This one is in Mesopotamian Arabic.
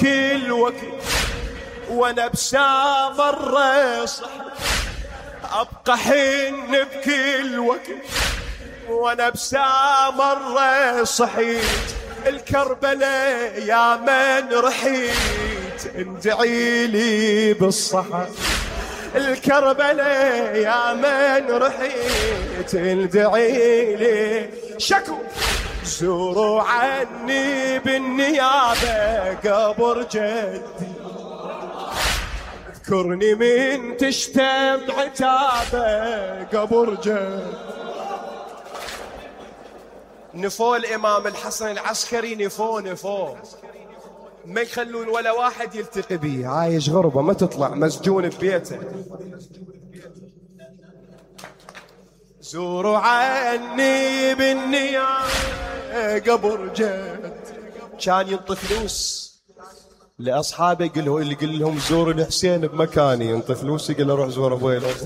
بكل وقت وانا بسامر صحيت، ابقى حن بكل وقت وانا بسامر صحيت، الكربلاء يا من رحيت اندعي لي بالصحة، الكربلاء يا من رحيت اندعي لي. شكو زوروا عني بالنيابة قبر جدي، اذكرني من تشتم عتابه قبر جدي. نفو الإمام الحسن العسكري، نفو ما يخلون ولا واحد يلتقي بيه، عايش غربة ما تطلع، مسجون ببيته. زوروا عني بالنيابة قبر جد، كان ينطي فلوس لأصحابه، يقول لهم زوروا الحسين بمكاني، ينطي فلوس يقول له روح زور أبوي الأخ.